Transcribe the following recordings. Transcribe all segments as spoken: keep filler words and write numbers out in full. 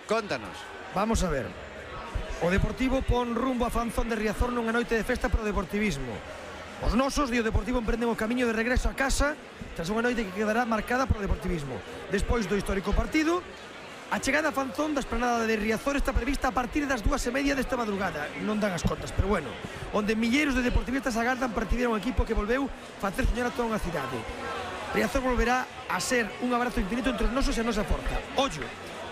Contanos. Vamos a ver. O Deportivo pon rumbo a Fanzón de Riazor nunha noite de festa para o deportivismo. Os nosos e o Deportivo emprenden o camiño de regreso a casa tras unha noite que quedará marcada polo deportivismo. Despois do histórico partido, a chegada a Fanzón da esplanada de Riazor está prevista a partir das dúas e media desta madrugada. Non dan as contas, pero bueno, onde milleiros de deportivistas agardan para recibir un equipo que volveu facer soñar a toda unha cidade. Riazor volverá a ser un abrazo infinito entre os nosos e a nosa forza. Ollo,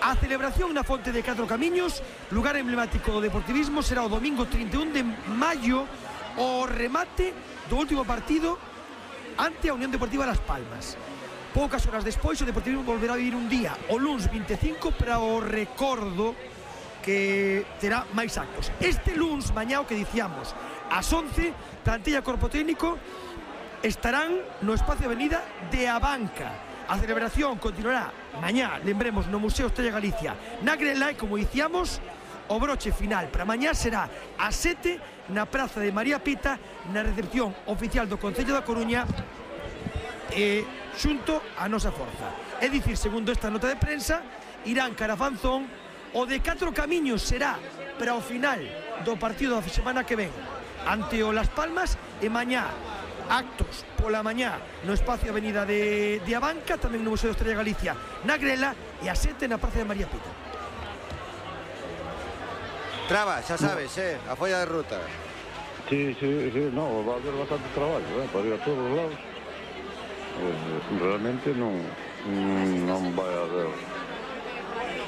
a celebración na Fonte de Catro Camiños, lugar emblemático do deportivismo, será o domingo trinta e un de maio, o remate do último partido ante a Unión Deportiva Las Palmas. Poucas horas despois o Deportivismo volverá a vivir un día, o luns vinte e cinco, para o recordo que terá máis actos. Este luns, mañá, o que dicíamos, ás once, plantilla corpo técnico estarán no espacio Avenida de Abanca. A celebración continuará mañá, lembremos, no Museo Estrella Galicia, na Grela, e como dicíamos, o broche final para mañá será ás sete na Praza de María Pita, na recepción oficial do Concello da Coruña, e xunto a nosa forza. É dicir, segundo esta nota de prensa, irán cara a Fanzón. O de Catro Camiños será para o final do partido da semana que ven ante o Las Palmas, e mañá actos pola mañá no espacio Avenida de, de Abanca, tamén no Museo de Estrella Galicia na Grela, e ás sete na Praza de María Pita. Traba, xa sabes, eh, a folla de ruta. Sí, sí, sí, no, va a haber bastante traballo, eh, para ir a todos os lados. Eh, realmente non, non vai a haber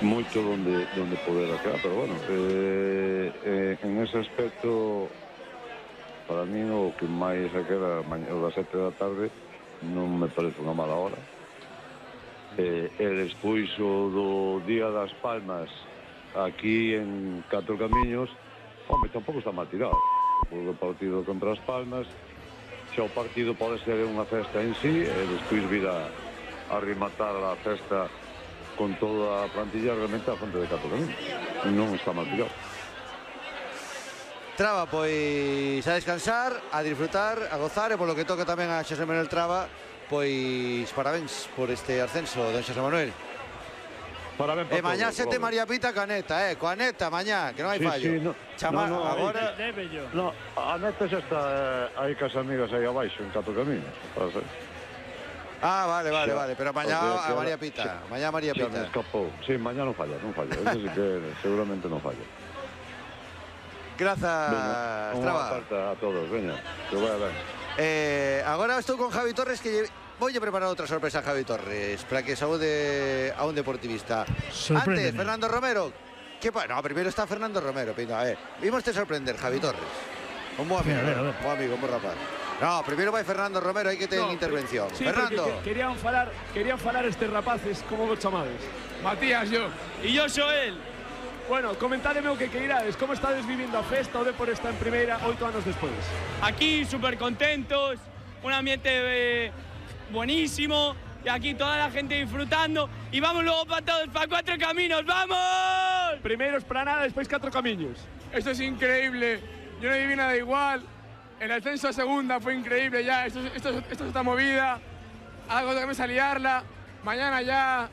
moito donde, donde poder acá, pero bueno, eh, eh, en ese aspecto, para mí o que máis se queda mañana das sete da tarde non me parece unha mala hora. Eh, e despois o do Día das Palmas aquí en Catro Camiños, home, tampouco está mal tirado. O partido contra as Palmas, xa o partido pode ser unha festa en sí, e despois vir a, a rematar a festa con toda a plantilla realmente a Fonte de Catro Camiños. Non está mal tirado. Traba, pois a descansar, a disfrutar, a gozar, e polo que toca tamén a Xosé Manuel Traba, pois parabéns por este ascenso, don Xosé Manuel. Parabéns e mañá sete María Pita Caneta, eh, coa neta mañá, que non hai sí, fallo. Sí, no, Chama, no, no, agora... No, a neta xa está eh, aí cas amigas aí abaixo, en Catro Camiños. Ah, vale, vale, xa, vale, pero mañá a María Pita, xa, mañá a María Pita. Xa me escapou, sí, mañá non falla, non falla, eso sí que seguramente non falla. Grazas, Traba. Unha carta a todos, veña, que vai a ver. Eh, agora estou con Javi Torres, que lle... Voulle preparar outra sorpresa a Javi Torres para que saúde a un deportivista. Antes, Fernando Romero. Que pa... No, primeiro está Fernando Romero, pinga, eh. Vimos te sorprender, Javi Torres. Un bo amigo, un bo amigo, un bo rapaz. No, primeiro vai Fernando Romero, hai que ter no, intervención. Sí, Fernando. Que, querían falar, querían falar estes rapaces, como vos chamades? Matías, yo. E yo sou el. Bueno, comentádeme o que queirades, como estades vivindo a festa, o Depor está en primeira oito anos despois. Aquí, súper contentos, un ambiente... Eh... buenísimo, y aquí toda la gente disfrutando, y vamos luego para todos, para Cuatro Caminos, ¡vamos! Primero Esplanada, después Cuatro Caminos. Esto es increíble, yo no viví nada igual, el ascenso a segunda fue increíble ya, esto, esto, esto es esta movida, algo que me a liarla, mañana ya...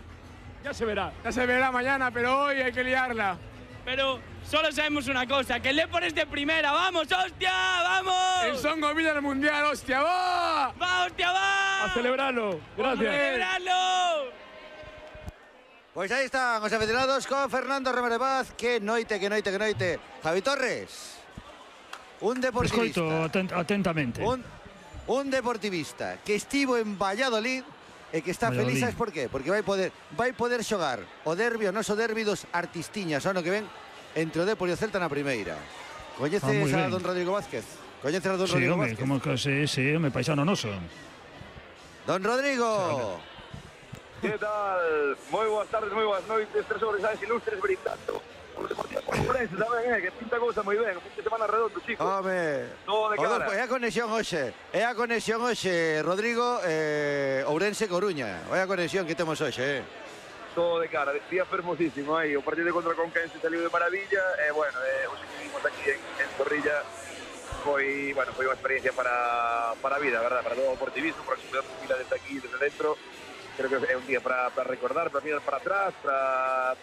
Ya se verá. Ya se verá mañana, pero hoy hay que liarla. Pero solo sabemos una cosa, que el Depor es de primera, ¡vamos, hostia, vamos! El Son Gomilla del Mundial, hostia, ¡va! ¡Va, hostia, va! A celebrarlo, gracias. ¡A celebrarlo! Pois aí están os aficionados con Fernando Romero Paz. Que noite, que noite, que noite. Javi Torres, un deportivista. Escoito atent atentamente. Un, un deportivista que estivo en Valladolid e que está Valladolid. feliz, sabes por qué? Porque vai poder vai poder xogar o derbi, o noso derbi dos artistiñas, ano que ven, entre o Depor e o Celta na primeira. Coñeces ah, a don Rodrigo Vázquez? Coñeces a don sí, Rodrigo home, Vázquez? como que sí, sí, me paisano noso. Don Rodrigo. Que tal? Moi boas tardes, moi boas noites, tres sobresales ilustres brindando. Ourense tamén, eh, que pinta cousa moi ben, fin de semana redondo, chicos. Home, todo de cara. É a conexión hoxe, é a conexión hoxe, Rodrigo, eh, Ourense Coruña. É a conexión que temos hoxe, eh. Todo de cara, día fermosísimo aí, o partido contra Conquense saliu de maravilla, e eh, bueno, eh, hoxe que vimos aquí en, en Zorrilla, foi, bueno, foi unha experiencia para, para a vida, verdad, para todo o deportivismo, para que se mira desde aquí, desde dentro. Creo que é un día para, para recordar, para mirar para atrás, para,